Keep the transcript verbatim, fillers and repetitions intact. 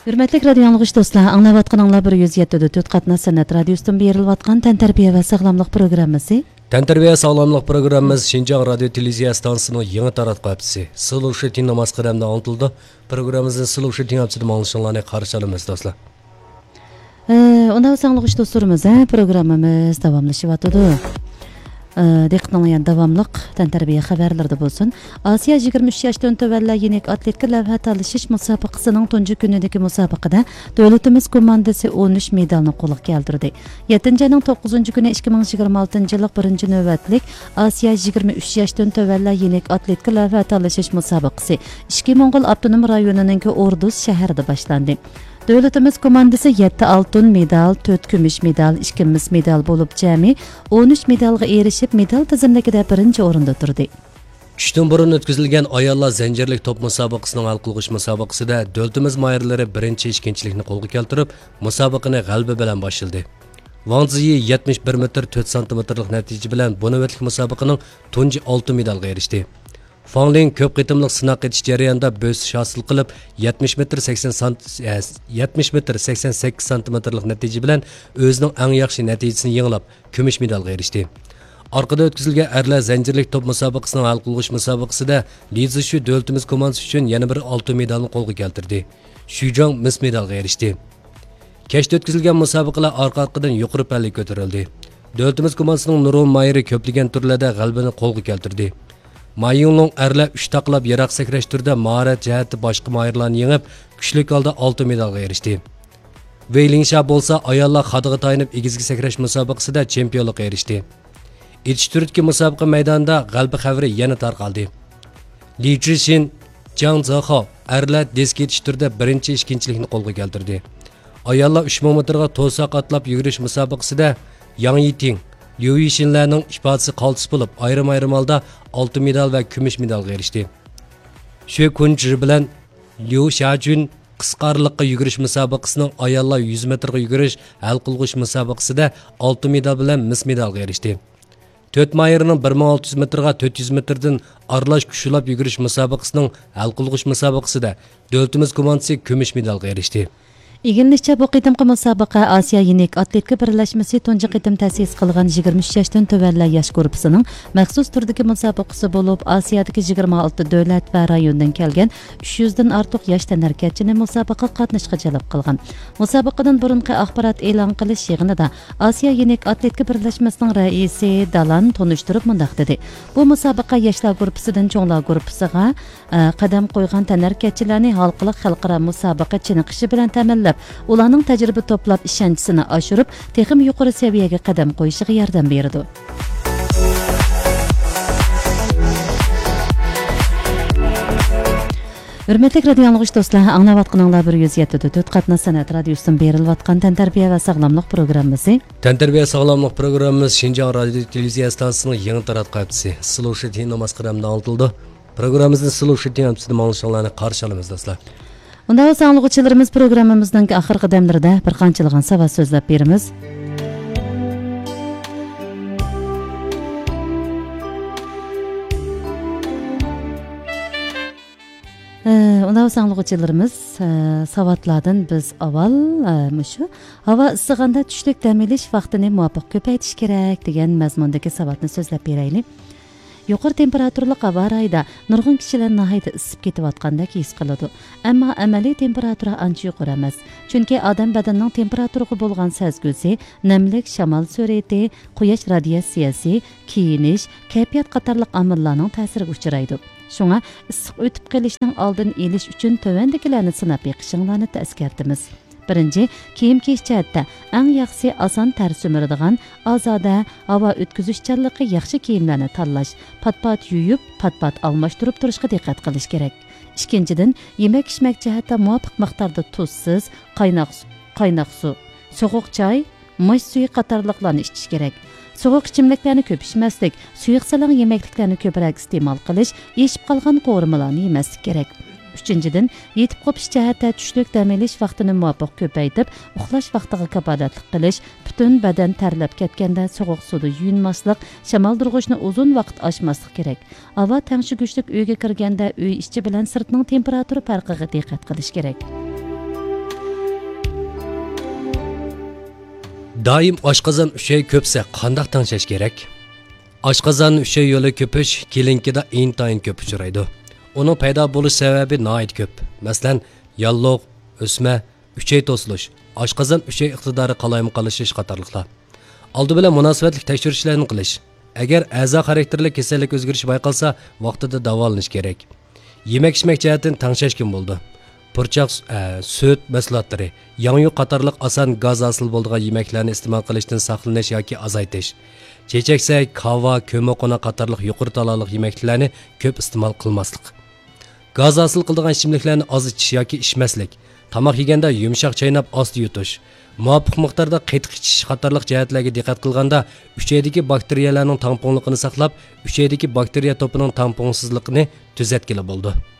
ھۆرمەتلىك رادىيو ئاڭلىغۇچى دوستلار، ئاڭلاۋاتقىنىڭلار بىر يۈز يەتتە پۈتۈن تۆت قاتناش سەنئەت رادىيوسىدىن بېرىلىۋاتقان تەنتەربىيە ۋە ساغلاملىق پروگراممىسى. تەنتەربىيە ساغلاملىق پروگراممىمىز شىنجاڭ رادىيو تېلېۋىزىيە ئىستانسىسىنىڭ يېڭى تاراتقۇ ھەپتىسى سىلۇشى تېڭ ناماز قەدەمدە ئاڭلىتىلىدۇ. پروگراممىمىزنى سىلۇشى تېڭ ھەپتىسىدە ئاڭلىشىڭلارنى قارشى ئالىمىز، دوستلار. ئە، ئۇنداق بولسا ئاڭلىغۇچى دوستلىرىمىز، ھە، پروگراممىمىز داۋاملىشىۋاتىدۇ. ئە، دىققىتىڭلار يەنە داۋاملىق تەنتەربىيە خەۋەرلىرىدە بولسۇن. ئاسىيا يىگىرمە ئۈچ ياشتىن تۆۋەنلەر يېنىك ئاتلېتىكا لەۋھە تالىشىش مۇسابىقىسىنىڭ تۇنجى كۈنىدىكى مۇسابىقىدە دۆلىتىمىز كوماندىسى ئون ئۈچ مېدالنى قولغا كەلتۈردى. يەتتىنچى ئاينىڭ توققۇزىنچى كۈنى ئىككى مىڭ يىگىرمە ئالتىنچى يىللىق بىرىنچى نۆۋەتلىك ئاسىيا يىگىرمە ئۈچ ياشتىن تۆۋەنلەر يېنىك ئاتلېتىكا لەۋھە تالىشىش مۇسابىقىسى ئىچكى موڭغۇل ئاپتونوم رايونىنىڭكى ئوردۇز شەھىرىدە باشلاندى. دۆلىتىمىز كوماندىسى يەتتە ئالتۇن مېدال، تۆت كۈمۈش مېدال، ئىككى مىس مېدال بولۇپ جەمئىي ئون ئۈچ مېدالغا ئېرىشىپ، مېدال تىزىملىكىدە بىرىنچى ئورۇندا تۇردى. چۈشتىن بۇرۇن ئۆتكۈزۈلگەن ئاياللار زەنجىرلىك توپ مۇسابىقىسىنىڭ ھەل قىلغۇچ مۇسابىقىسىدە دۆلىتىمىز ماھىرلىرى بىرىنچى، ئىككىنچىلىكنى قولغا كەلتۈرۈپ، مۇسابىقىنى غەلىبە بىلەن باشلىدى. ۋاڭ زىيى يەتمىش بىر مېتىر تۆت سانتىمېتىرلىق نەتىجە بىلەن بۇ نۆۋەتلىك مۇسابىقىنىڭ تۇنجى ئالتۇن مېدالغا ئېرىشتى. فاڭ لىڭ كۆپ قېتىملىق سىناق ئېتىش جەريانىدا بۆسۈش ھاسىل قىلىپ، يەتمىش مېتىر سەكسەن سانت-، ئە، يەتمىش مېتىر سەكسەن سەككىز سانتىمېتىرلىق نەتىجە بىلەن ئۆزىنىڭ ئەڭ ياخشى نەتىجىسىنى يېڭىلاپ، كۈمۈش مېدالغا ئېرىشتى. ئارقىدا ئۆتكۈزۈلگەن ئەرلەر زەنجىرلىك توپ مۇسابىقىسىنىڭ ھەل قىلغۇچ مۇسابىقىسىدە لى زىشۈ دۆلىتىمىز كوماندىسى ئۈچۈن يەنە بىر ئالتۇن مېدالنى قولغا كەلتۈردى. شۈ جاڭ مىس مېدالغا ئېرىشتى. كەچتە ئۆتكۈزۈلگەن مۇسابىقىلەر ئارقا-ئارقىدىن يۇقىرى پەللىگە كۆتۈرۈلدى. دۆلىتىمىز كوماندىسىنىڭ نۇرغۇن ماھىرى كۆپلىگەن تۈرلەردە غەلىبىنى قولغا كەلتۈردى. ما يىڭلۇڭ ئەرلەر ئۈچ تاقىلاپ يىراق سەكرەش تۈرىدە ماھارەت جەھەتتە باشقا ماھىرلارنى يېڭىپ، كۈچلۈك ھالدا ئالتۇن مېدالغا ئېرىشتى. ۋېي لىڭشيا بولسا ئاياللار خادىغا تايىنىپ ئېگىزگە سەكرەش مۇسابىقىسىدە چېمپىيونلۇققا ئېرىشتى. ئېتىش تۈرىدىكى مۇسابىقە مەيدانىدا غەلىبە خەۋىرى يەنە تارقالدى. لى جىشىن، جاڭ زېخاۋ ئەرلەر دىسك ئېتىش تۈرىدە بىرىنچى، ئىككىنچىلىكنى قولغا كەلتۈردى. ئاياللار ئۈچ مىڭ مېتىرغا توساق ئاتلاپ يۈگۈرۈش مۇسابىقىسىدە ياڭ يىتىڭ، ليۇ يىشىنلەرنىڭ ئىپادىسى قالتىس بولۇپ، ئايرىم-ئايرىم ھالدا ئالتۇن مېدال ۋە كۈمۈش مېدالغا ئېرىشتى. شۈ كۇنجى بىلەن ليۇ شياجۈن قىسقا ئارىلىققا يۈگۈرۈش مۇسابىقىسىنىڭ ئاياللار يۈز مېتىرغا يۈگۈرۈش ھەل قىلغۇچ مۇسابىقىسىدە ئالتۇن مېدال بىلەن مىس مېدالغا ئېرىشتى. تۆت ماھىرنىڭ بىر مىڭ ئالتە يۈز مېتىرغا تۆت يۈز مېتىردىن ئارىلاش كۈچ ئۇلاپ يۈگۈرۈش مۇسابىقىسىنىڭ ھەل قىلغۇچ مۇسابىقىسىدە دۆلىتىمىز كوماندىسى كۈمۈش مېدالغا ئېرىشتى. ئىگىلىنىشىچە، بۇ قېتىمقى مۇسابىقە ئاسىيا يېنىك ئاتلېتىكا بىرلەشمىسى تۇنجى قېتىم تەسىس قىلغان يىگىرمە ئۈچ ياشتىن تۆۋەنلەر ياش گۇرۇپپىسىنىڭ مەخسۇس تۈردىكى مۇسابىقىسى بولۇپ، ئاسىيادىكى يىگىرمە ئالتە دۆلەت ۋە رايوندىن كەلگەن ئۈچ يۈزدىن ئارتۇق ياش تەنھەرىكەتچىنى مۇسابىقىگە قاتنىشىشقا جەلپ قىلغان. مۇسابىقىدىن بۇرۇنقى ئاخبارات ئېلان قىلىش يىغىنىدا ئاسىيا يېنىك ئاتلېتىكا بىرلەشمىسىنىڭ رەئىسى دالان تونۇشتۇرۇپ مۇنداق دېدى: بۇ مۇسابىقە ياشلار گۇرۇپپىسىدىن چوڭلار گۇرۇپپىسىغا، ئە، قەدەم قويغان تەنھەرىكەتچىلەرنى ھالقىلىق خەلقئارا مۇسابىقە چېنىقىشى بىلەن تەمىنلەپ، ئۇلارنىڭ تەجرىبە توپلاپ، ئىشەنچىسىنى ئاشۇرۇپ، تېخىمۇ يۇقىرى سەۋىيەگە قەدەم قويۇشىغا ياردەم بېرىدۇ. ھۆرمەتلىك رادىيو ئاڭلىغۇچى دوستلار، ئاڭلاۋاتقىنىڭلار بىر يۈز يەتتە پۈتۈن تۆت قاتناش سەنئەت رادىيوسىدىن بېرىلىۋاتقان تەنتەربىيە ۋە ساغلاملىق پروگراممىسى. تەنتەربىيە ساغلاملىق پروگراممىمىز شىنجاڭ رادىيو تېلېۋىزىيە ئىستانسىسىنىڭ يېڭى تاراتقۇ ھەپتىسى سىلۇشى تېڭ ناماز قەدەمدە ئاڭلىتىلىدۇ. پروگراممىمىزنى سىلۇشى تېڭ ھەپتىسىدە ئاڭلىشىڭلارنى قارشى ئالىمىز، دوستلار. ئۇنداق بولسا ئاڭلىغۇچىلىرىمىز، پروگراممىمىزنىڭ ئاخىرقى دەملىرىدە بىر قانچىلىغان ساۋات سۆزلەپ بېرىمىز. ئە، ئۇنداق بولسا ئاڭلىغۇچىلىرىمىز، ئە، ساۋاتلاردىن بىز ئاۋۋال، ئە، مۇشۇ ھاۋا ئىسسىغاندا چۈشلۈك دەم ئېلىش ۋاقتىنى مۇۋاپىق كۆپەيتىش كېرەك دېگەن مەزمۇندىكى ساۋاتنى سۆزلەپ بېرەيلى. يۇقىرى تېمپېراتۇرىلىق ھاۋا رايىدا نۇرغۇن كىشىلەر ناھايىتى ئىسسىپ كېتىۋاتقاندەك ھېس قىلىدۇ. ئەمما ئەمەلىي تېمپېراتۇرا ئانچە يۇقىرى ئەمەس. چۈنكى ئادەم بەدىنىنىڭ تېمپېراتۇرىغا بولغان سەزگۈسى، نەملىك، شامال سۈرئىتى، قۇياش رادىياتسىيەسى، كىيىنىش، كەيپىيات قاتارلىق ئامىللارنىڭ تەسىرىگە ئۇچرايدۇ. شۇڭا ئىسسىق ئۆتۈپ قېلىشنىڭ ئالدىنى ئېلىش ئۈچۈن تۆۋەندىكىلەرنى سىناپ بېقىشىڭلارنى ئەسكەرتىمىز. بىرىنچى، كىيىم كىيىش جەھەتتە ئەڭ ياخشىسى ئاسان تەر سۈمۈرىدىغان، ئازادە، ھاۋا ئۆتكۈزۈشچانلىقى ياخشى كىيىملەرنى تاللاش، پات-پات يۇيۇپ، پات-پات ئالماشتۇرۇپ تۇرۇشقا دىققەت قىلىش كېرەك. ئىككىنچىدىن، يېمەك-ئىچمەك جەھەتتە مۇۋاپىق مىقداردا تۇزسىز، قايناق سۇ، قايناق سۇ، سوغۇق چاي، ماش سۈيى قاتارلىقلارنى ئىچىش كېرەك. سوغۇق ئىچىملىكلەرنى كۆپ ئىچمەسلىك، سۇيۇق سالاڭ يېمەكلىكلەرنى كۆپرەك ئىستېمال قىلىش، ئېشىپ قالغان قورۇمىلارنى يېمەسلىك كېرەك. ئۈچىنچىدىن، يېتىپ قوپۇش جەھەتتە چۈشلۈك دەم ئېلىش ۋاقتىنى مۇۋاپىق كۆپەيتىپ، ئۇخلاش ۋاقتىغا كاپالەتلىك قىلىش، پۈتۈن بەدەن تەرلەپ كەتكەندە سوغۇق سۇدا يۇيۇنماسلىق، شامالدۇرغۇچنى ئۇزۇن ۋاقىت ئاچماسلىق كېرەك. ھاۋا تەڭشىگۈچلۈك ئۆيگە كىرگەندە ئۆي ئىچى بىلەن سىرتنىڭ تېمپېراتۇرا پەرقىگە دىققەت قىلىش كېرەك. دائىم ئاشقازان ئۈچەي كۆپسە قانداق تەڭشەش كېرەك؟ ئاشقازان ئۈچەي يولى كۆپۈش كلىنىكىدا ئىنتايىن كۆپ ئۇچرايدۇ. ئۇنىڭ پەيدا بولۇش سەۋەبى ناھايىتى كۆپ. مەسىلەن، ياللۇغ، ئۆسمە، ئۈچەي توسۇلۇش، ئاشقازان ئۈچەي ئىقتىدارى قالايمىقانلىشىش قاتارلىقلار. ئالدى بىلەن مۇناسىۋەتلىك تەكشۈرۈشلەرنى قىلىش. ئەگەر ئەزا خاراكتېرلىك كېسەللىك ئۆزگىرىشى بايقالسا، ۋاقتىدا داۋالىنىش كېرەك. يېمەك ئىچمەك جەھەتتىن تەڭشەشكىمۇ بولىدۇ. پۇرچاق، ئە، سۈت مەھسۇلاتلىرى، ياڭيۇ قاتارلىق ئاسان گاز ھاسىل بولىدىغان يېمەكلەرنى ئىستېمال قىلىشتىن ساقلىنىش ياكى ئازايتىش. چېچەكسەك، كاۋا، كۆممىقوناق قاتارلىق يۇقىرى تالالىق يېمەكلىكلەرنى كۆپ ئىستېمال قىلماسلىق. گاز ھاسىل قىلىدىغان ئىچىملىكلەرنى ئاز ئىچىش ياكى ئىچمەسلىك. تاماق يېگەندە يۇمشاق چايناپ ئاستا يۇتۇش. مۇۋاپىق مىقداردا قېتىق ئىچىش قاتارلىق جەھەتلەرگە دىققەت قىلغاندا، ئۈچەيدىكى باكتېرىيەلەرنىڭ تەڭپۇڭلۇقىنى ساقلاپ، ئۈچەيدىكى باكتېرىيە توپىنىڭ تەڭپۇڭسىزلىقىنى تۈزەتكىلى بولىدۇ.